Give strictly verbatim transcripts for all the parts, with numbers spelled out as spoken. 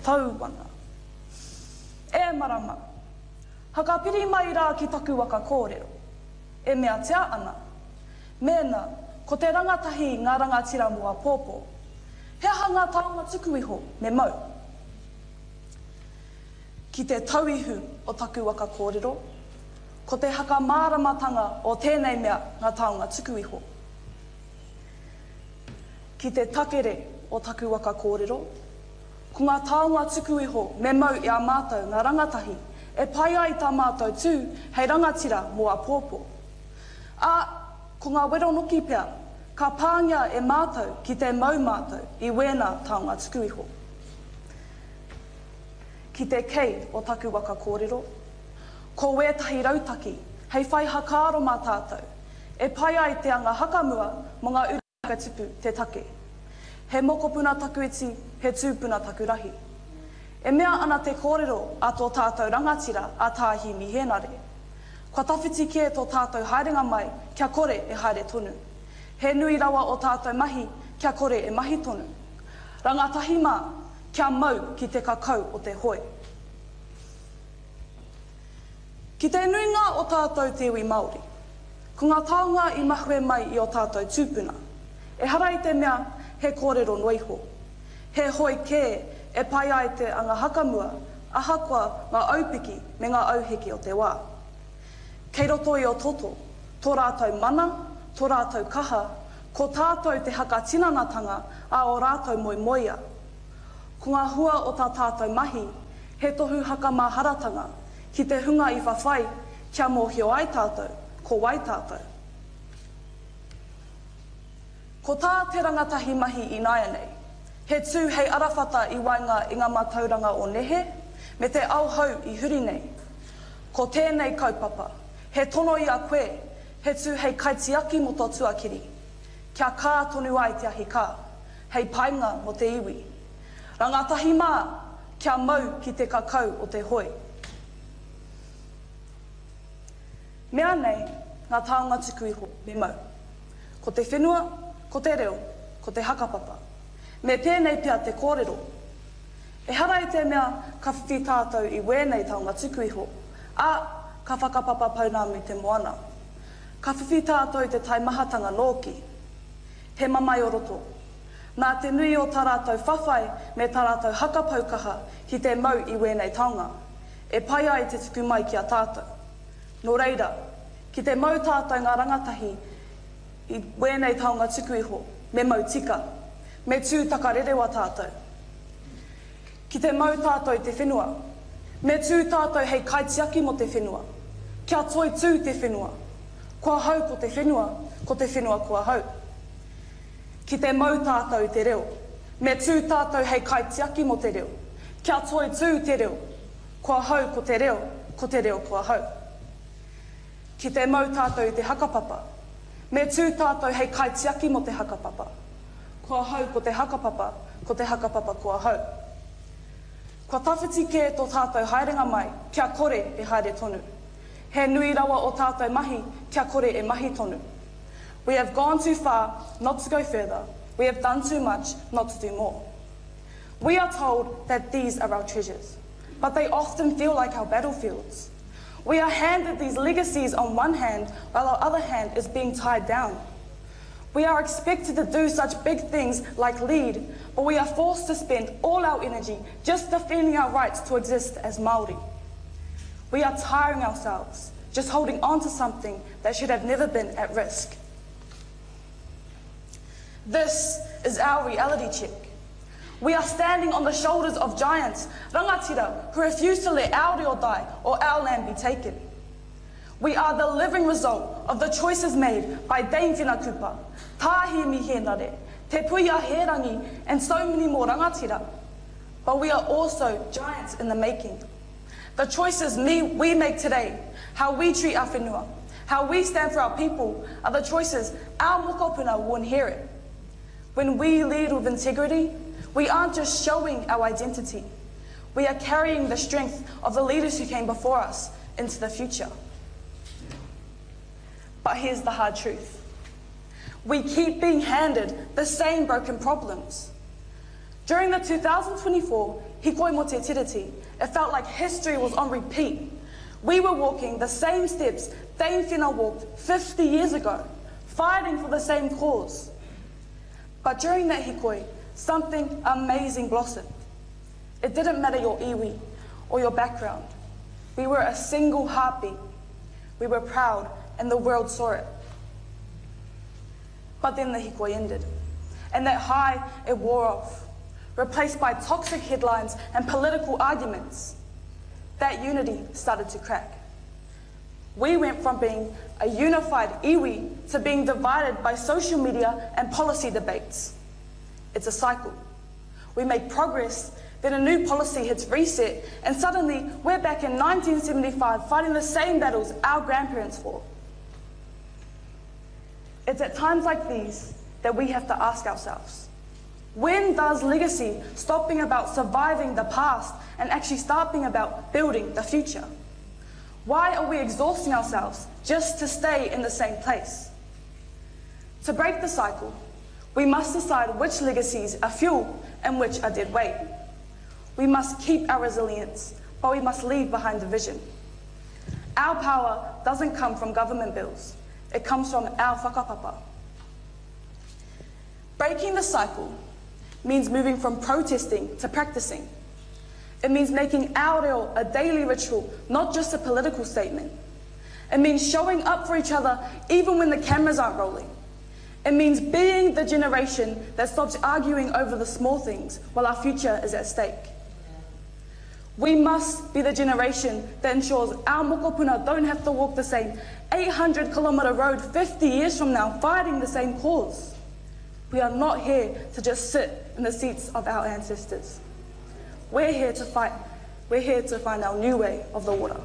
tau ana. E marama, hakapiri mai rā ki taku waka kōrero. E meatia ana. Mēnā, ko te rangatahi ngā rangatira mō āpōpō. He aha ngā taonga tuku iho me mau? Ki te tauihu o taku waka kōrero, ko te hakamāramatanga o tēnei mea ngā taonga tuku iho. Ki te takere o taku waka kōrero, ko ngā taonga tuku iho me mau i a mātou ngā rangatahi e pai ai tā mātou tū hei rangatira mō āpōpō. Ā, ko ngā wero noki pea, ka pāngia e mātou ki te mau mātou i wēnā taonga tuku iho. Ki te kei o taku waka kōrero, ko wētahi rautaki hei whai hakaaro mā tātou, e pai ai te anga hakamua mō ngā uri whakatipu te take. He mokopuna taku iti, he tūpuna taku rahi. E mea ana te kōrero a tō tātou rangatira a Tā Himi Hēnare. Kua tawhiti kē tō tātou haerenga mai kia kore e haere tonu. He nui rawa o tātou mahi kia kore e mahi tonu. Rangatahi mā, kia mau ki te kakau o te hoe. Ki te nuinga o tātou te iwi Māori, ko ngā taonga i mahue mai i o tātou tūpuna. Ehara i te mea he kōrero noa iho. He hoe kē e pai ai te anga hakamua, ahakoa ngā aupiki me ngā auheke o te wā. Kei roto i o toto, tō rātou mana, tō rātou kaha, ko tātou te hakatinanatanga a o rātou moemoeā. Ko ngā hua o tā tātou mahi, he tohu hakamaharatanga ki te hunga i whawhai kia mōhio ai tātou, ko wai tātou. Ko tā te rangatahi mahi ināianei, he tū hei arawhata i waenga i ngā mātauranga o nehe, me te ao hou i huri nei. Ko tēnei kaupapa, he tono i a koe, he tū hei kaitiaki mō tō tuakiri, kia kā tonu ai te ahi kā, hei painga mō te iwi. Rangatahi mā, kia mau ki te kakau o te hoe. Mea nei, ngā taonga tuku iho me mau. Ko te whenua, ko te reo, ko te hakapapa. Me pēnei pea te kōrero. Ehara i te mea ka whiwhi tātou i wēnei taonga tuku iho, ā, ka whakapapa pounamu te moana. Ka whiwhi tātou i te taimahatanga nōki. He mamae o roto. Nā te nui o tā rātou whawhai me tā rātou hakapau kaha ki te mau i wēnei taonga, e pai ai te tuku mai ki a tātou. Nō reira, ki te mau tātou ngā rangatahi i wēnei taonga tuku iho, me mau tika, me tū takarerewa tātou. Ki te mau tātou te whenua, me tū tātou hei kaitiaki mō te whenua, kia toitū te whenua. Ko ahau ko te whenua, ko te whenua ko ahau. Ki te mau tātou te reo, me tū tātou hei kaitiaki mō te reo, kia toitū te reo. Ko ahau ko te reo, ko te reo ko ahau. Ki te mau tātou i te hakapapa, me tū tātou hei kaitiaki mō te hakapapa. Ko ahau ko te hakapapa, ko te hakapapa ko ahau. Kua tawhiti kē tō tātou haerenga mai kia kore e haere tonu. He nui rawa o tātou mahi kia kore e mahi tonu. We have gone too far not to go further. We have done too much not to do more. We are told that these are our treasures, but they often feel like our battlefields. We are handed these legacies on one hand, while our other hand is being tied down. We are expected to do such big things like lead, but we are forced to spend all our energy just defending our rights to exist as Māori. We are tiring ourselves, just holding on to something that should have never been at risk. This is our reality check. We are standing on the shoulders of giants, rangatira, who refuse to let our reo die or our land be taken. We are the living result of the choices made by Dame Whina Cooper, Tā Himi Hēnare, Te Puea Hērangi, and so many more rangatira. But we are also giants in the making. The choices me, we make today, how we treat our whenua, how we stand for our people, are the choices our mokopuna will inherit. When we lead with integrity, we aren't just showing our identity. We are carrying the strength of the leaders who came before us into the future. But here's the hard truth. We keep being handed the same broken problems. During the two thousand twenty-four Hikoi Mo Te Tiriti, it felt like history was on repeat. We were walking the same steps Dame Whina walked fifty years ago, fighting for the same cause. But during that hikoi, something amazing blossomed. It didn't matter your iwi or your background. We were a single heartbeat. We were proud, and the world saw it. But then the hikoi ended, and that high, it wore off, replaced by toxic headlines and political arguments. That unity started to crack. We went from being a unified iwi to being divided by social media and policy debates. It's a cycle. We make progress, then a new policy hits reset, and suddenly we're back in nineteen seventy-five fighting the same battles our grandparents fought. It's at times like these that we have to ask ourselves, when does legacy stop being about surviving the past and actually start being about building the future? Why are we exhausting ourselves just to stay in the same place? To break the cycle, we must decide which legacies are fuel and which are dead weight. We must keep our resilience, but we must leave behind division. Our power doesn't come from government bills. It comes from our whakapapa. Breaking the cycle means moving from protesting to practicing. It means making our reo a daily ritual, not just a political statement. It means showing up for each other even when the cameras aren't rolling. It means being the generation that stops arguing over the small things while our future is at stake. We must be the generation that ensures our mokopuna don't have to walk the same eight hundred kilometre road fifty years from now fighting the same cause. We are not here to just sit in the seats of our ancestors. We're here to fight. We're here to find our new way of the water.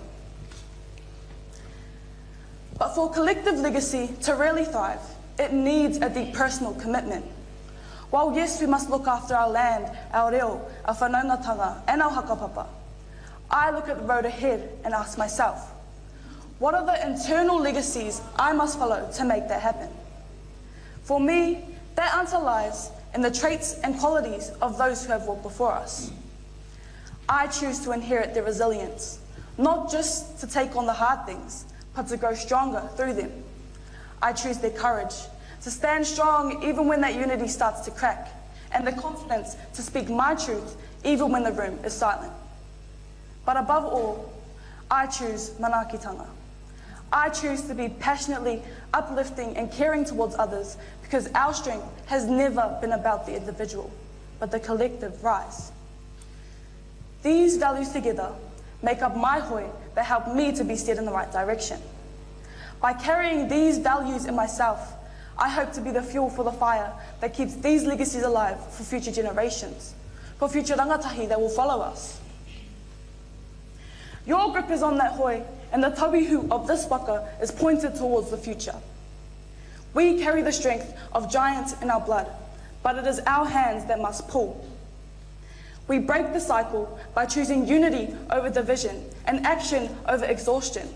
But for collective legacy to really thrive, it needs a deep personal commitment. While yes, we must look after our land, our reo, our whanaungatanga, and our whakapapa, I look at the road ahead and ask myself, what are the internal legacies I must follow to make that happen? For me, that answer lies in the traits and qualities of those who have walked before us. I choose to inherit their resilience, not just to take on the hard things, but to grow stronger through them. I choose their courage, to stand strong even when that unity starts to crack, and the confidence to speak my truth even when the room is silent. But above all, I choose manaakitanga. I choose to be passionately uplifting and caring towards others because our strength has never been about the individual, but the collective rise. These values together make up my hoi that help me to be steered in the right direction. By carrying these values in myself, I hope to be the fuel for the fire that keeps these legacies alive for future generations, for future rangatahi that will follow us. Your grip is on that hoi, and the tauihu of this waka is pointed towards the future. We carry the strength of giants in our blood, but it is our hands that must pull. We break the cycle by choosing unity over division and action over exhaustion.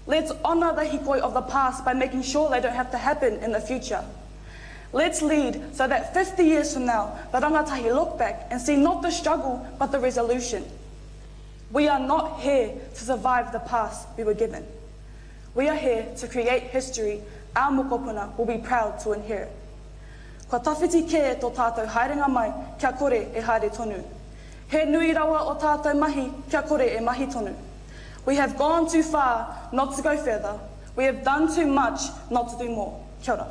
Let's honour the hikoi of the past by making sure they don't have to happen in the future. Let's lead so that fifty years from now, the rangatahi look back and see not the struggle, but the resolution. We are not here to survive the past we were given. We are here to create history our mokopuna will be proud to inherit. Kua tawhiti kē tō tātou haerenga mai kia kore e haere tonu. He nui rawa o tātou mahi kia kore e mahi tonu. We have gone too far not to go further. We have done too much not to do more. Kia ora.